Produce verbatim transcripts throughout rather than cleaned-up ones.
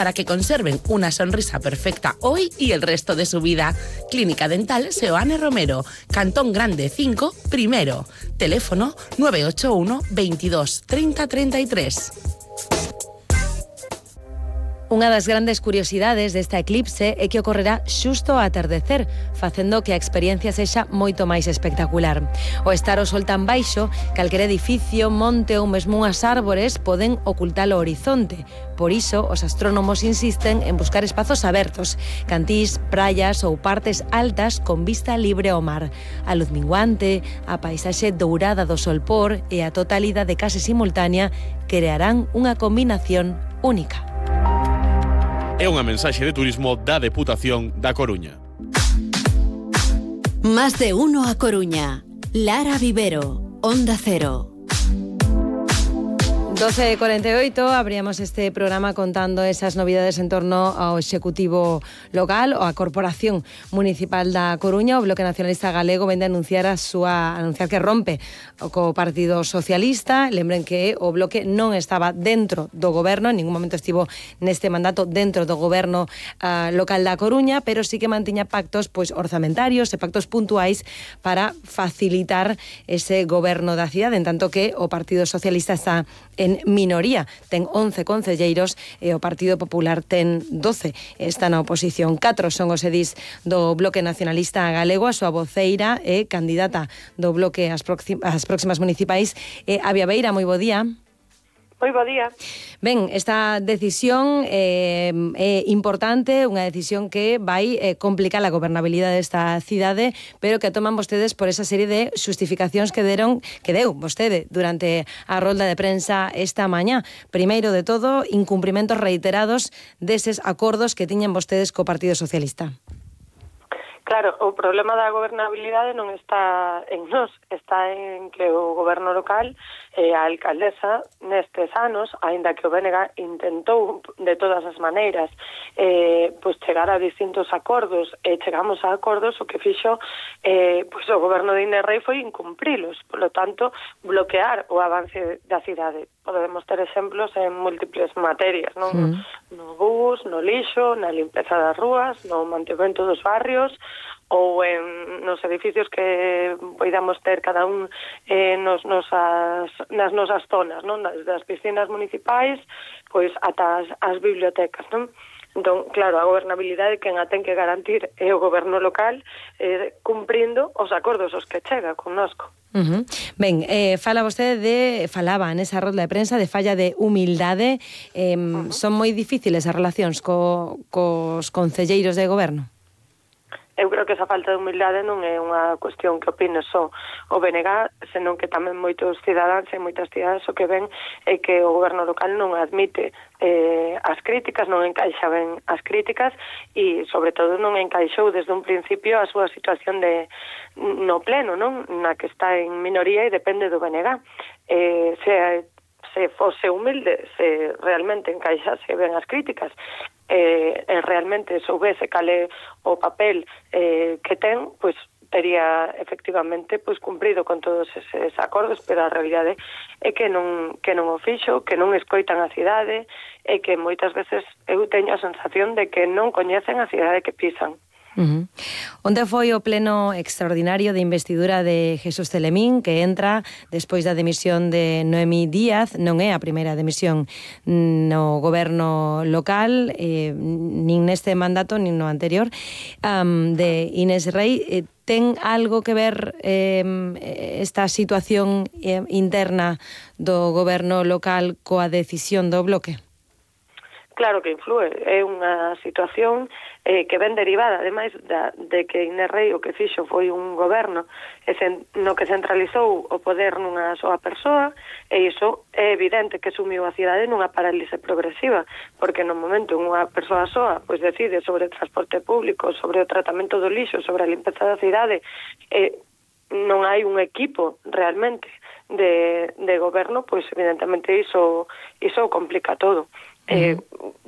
para que conserven una sonrisa perfecta hoy y el resto de su vida. Clínica Dental Seoane Romero, Cantón Grande cinco, primero. Teléfono nueve ocho uno, veintidós, treinta, treinta y tres. Unha das grandes curiosidades desta eclipse é que ocorrerá xusto ao atardecer, facendo que a experiencia sexa moito máis espectacular. O estar o sol tan baixo, calquer edificio, monte ou mesmo unhas árbores poden ocultar o horizonte. Por iso, os astrónomos insisten en buscar espazos abertos, cantís, praias ou partes altas con vista libre ao mar. A luz minguante, a paisaxe dourada do solpor e a totalidade case simultánea crearán unha combinación única. É unha mensaxe de turismo da Deputación da Coruña. Más de uno a Coruña. Lara Vivero, Onda Cero. doce e cuarenta e oito, abríamos este programa contando esas novidades en torno ao Executivo local ou a Corporación Municipal da Coruña. O Bloque Nacionalista Galego vende a anunciar a súa anunciar que rompe co Partido Socialista. Lembren que o Bloque non estaba dentro do goberno, en ningún momento estivo neste mandato dentro do goberno uh, local da Coruña, pero sí que mantiña pactos pois orzamentarios e pactos puntuais para facilitar ese goberno da cidade, en tanto que o Partido Socialista está en minoría, ten once concelleiros e o Partido Popular ten doce. Está na oposición. Catro son os edís do Bloque Nacionalista Galego. A súa voceira é candidata do Bloque ás próximas municipais. Eh, Avia Beira, moi bo día. Moi bo día. Ben, esta decisión eh, é importante, unha decisión que vai eh, complicar a gobernabilidade desta cidade, pero que toman vostedes por esa serie de xustificacións que deron, que deu vostede durante a rolda de prensa esta mañá. Primeiro de todo, incumprimentos reiterados deses acordos que tiñan vostedes co Partido Socialista. Claro, o problema da gobernabilidade non está en nós, está en que o goberno local e a alcaldesa nestes anos, aínda que o B N G intentou de todas as maneiras eh, pois chegar a distintos acordos e chegamos a acordos, o que fixo eh, pois o goberno de Inés Rei foi incumprilos, polo tanto bloquear o avance da cidade. Podemos ter exemplos en múltiples materias, non? Mm. No bus, no lixo, na limpeza das rúas, no mantemento dos barrios, ou en nos edificios que poidamos ter cada un eh, nos, nosas, nas nosas zonas, non? Das piscinas municipais, pois ata as, as bibliotecas, non? Entón, claro, a gobernabilidade quen a ten que garantir é o goberno local eh, cumprindo os acordos os que chega connosco. Uh-huh. Ben, eh, fala vostede de, falaba nesa rolda de prensa de falla de humildade. Eh, uh-huh. Son moi difíciles as relacións co, cos concelleiros de goberno? Eu creo que esa falta de humildade non é unha cuestión que opine só o B N G, senón que tamén moitos cidadáns e moitas cidades o que ven é que o goberno local non admite eh, as críticas, non encaixa ben as críticas e, sobre todo, non encaixou desde un principio a súa situación de no pleno, non? Na que está en minoría e depende do B N G. Eh, se se fose humilde, se realmente encaixase ben as críticas, eh, e realmente soubese cale o papel eh, que ten, pois tería efectivamente pois cumprido con todos eses acordos, pero a realidade é que non que non o fixo, que non escoitan a cidade e que moitas veces eu teño a sensación de que non coñecen a cidade que pisan. Uh-huh. Onde foi o pleno extraordinario de investidura de Jesús Celemín, que entra despois da dimisión de Noemí Díaz? Non é a primeira dimisión no goberno local, eh, nin neste mandato, nin no anterior, um, de Inés Rei. Eh, ten algo que ver eh, esta situación eh, interna do goberno local coa decisión do Bloque? Claro que influe, é unha situación eh, que ven derivada, ademais da, de que Inés Rei o que fixo foi un goberno no que centralizou o poder nunha soa persoa, e iso é evidente que sumiu a cidade nunha parálise progresiva, porque no momento unha persoa soa pois decide sobre o transporte público, sobre o tratamento do lixo, sobre a limpeza da cidade, eh, non hai un equipo realmente de, de goberno, pois evidentemente iso, iso complica todo. Eh,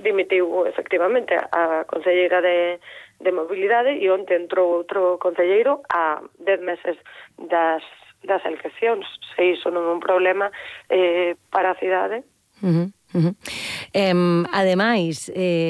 dimitiu efectivamente a concelleira de, de mobilidade e onte entrou outro concelleiro a dez meses das, das eleccións. Se iso non é un problema eh, para a cidade. Uh-huh, uh-huh. Eh, ademais, eh,